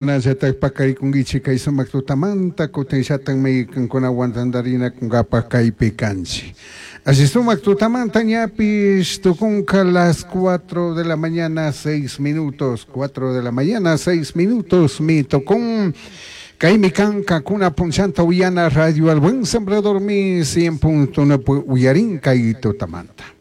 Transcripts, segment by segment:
Nallatak pakarikunkichik kay sumak tutamanta kutinllatakmi kankunawan tantarinakunkapa kaypi kanchik. Alli sumak tutamanta ñapish tukunka las 4 de la mañana 6 minutos, 4 de la mañana 6 minutos mi tukun. Kaymi kan kankuna punchanta uyana Radio El Buen Sembrador mi 100.9 uyarin kay tutamanta.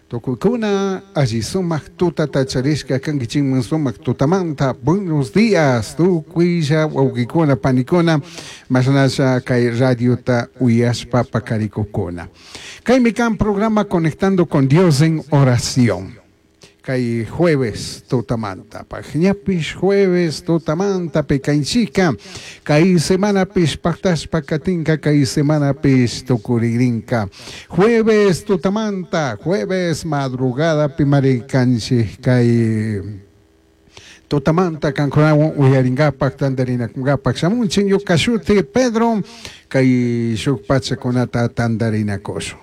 Tukuykuna alli sumak tutata charishka kankichikman sumak tutamanta. Buenos días, tukuylla wawqikuna panikuna, mashnalla kay radiota uyashpa pakarikukuna. Kaymi kan programa Conectando con Dios en Oración. Kay jueves tutamanta, ñapish jueves tutamanta pekanchika, kay semanapish paktashpa katinka, kay semanapish tukurigrinka. Jueves tutamanta, jueves madrugada pimarikanchik kay tutamanta kankunawan uyarinkapak tantarinakunkapak shamunchik ñuka shuti Pedro, kay shuk pachakunata tantarinakushun.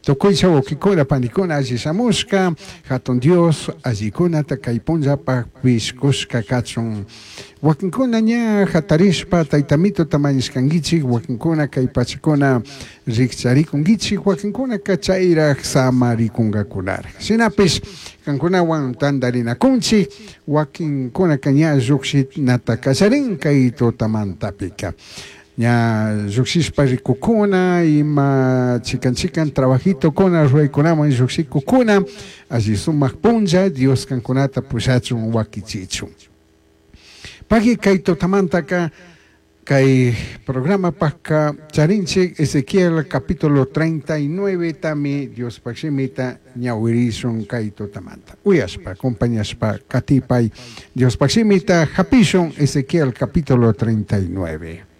Tukuylla wawqikuna panikuna alli shamushka, hatun Dios allikunata kay punllapak pishkushka kachun. Wakinkuna ña hatarishpa taytamituta mañashkankichik, wakinkuna kay pachakuna rikcharikunkichik, wakinkunaka chayraj samarikunkakakunaraj. Shinapish kankunawan tantarinakunchik, wakinkunaka ña llukshinata kallarin kay tutamantapika. Ña llukshishpa rikukuna, ima chikan chikan trabajitokuna ruraykunaman llukshikukuna, alli sumak punlla Dios kankunata pushachun wakichichun. Pagui kay tutamantaka kay programapakka charinchik Ezequiel capítulo 39 tami Diospaj shimita ñawirishun kay tutamanta. Uyashpa, acompañashpa, katipay Diospaj shimita hapishun Ezequiel capítulo 39.